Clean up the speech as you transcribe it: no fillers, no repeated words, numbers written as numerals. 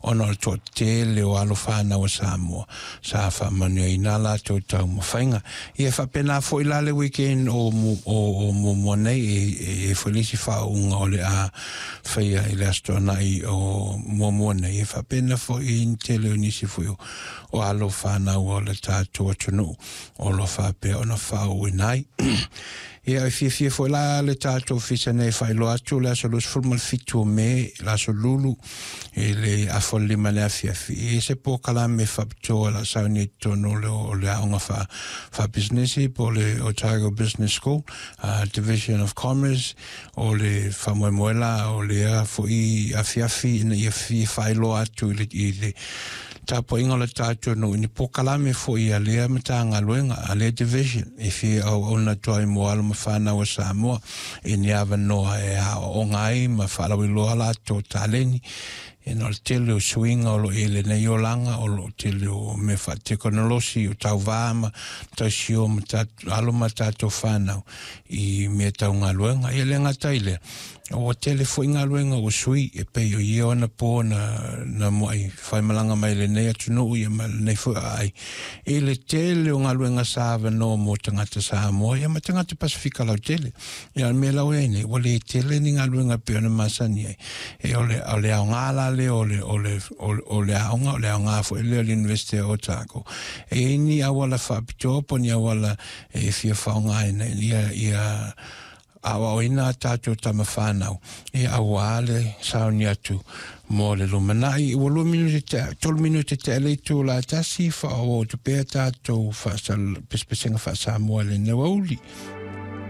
ona o le toatele o alo fanau a Samoa sa faamanuiaina a latou taumafaiga. Ia e faapena foi la le weekend o o muamua nei, e i ai foi le isi faauuga o le a faia i le Aso Toonai o muamua nei, e faapena foi i le tele o nisi foi o alo fanau o le tatou atunuu o lo o faapea ona faauuina ai. Ia, e fiafia foi la le tatou ofisa nei e faailoa atu le aso 27 o Me, le aso Lulu, i le afa o le 5 i le afiafi, e i ai se polokalame faapitoa o le a sauni ai i totonu o le aoga faapisinisi po o le Otago Business School, Division of Commerce. O le faamoemoe la o lea foi afiafi ina ia fia faailoa atu i le tapuaiga o le tatou nuu i ni polokalame foi a lea Matagaluega, a lea Division e fia auauna atu ai mo alo ma fanau a Samoa i ni avanoa e aoaoga ai ma faalauiloa latou taleni. Ona o le tele o suiga o lo o i ai i lenei olaga, o lo o tele o mea faatekonolosi, o tauva ma tausio ma alo ma tatou fanau i mea tau galuega. Ia le gata i lea, ua tele foi galuega ua sui, e pei o ia ona po na muai faimalaga mai lenei atunuu ia ma lenei foi aai i le tele o galuega sa avanoa mo tagata Samoa ia ma tagata Pasifika lautele. Ia, o le mea la ua i ai nei, ua le tele ni galuega e pei ona masani ai. E o le, o le aoga la lea o le, o le, o le aoga, o le aoga foi lea o le University o Otago. E i ai ni auala faapitoa po o ni auala e fia faaaogaina ia, ia aoaoina a tatou tama fanau, ia auā le sauni atu mo le lumanai. Ua 2 minute te, 3 minute te le itu la tasi, faaauau atu pea tatou pesepesega faa-Samoa i lenei aoauli.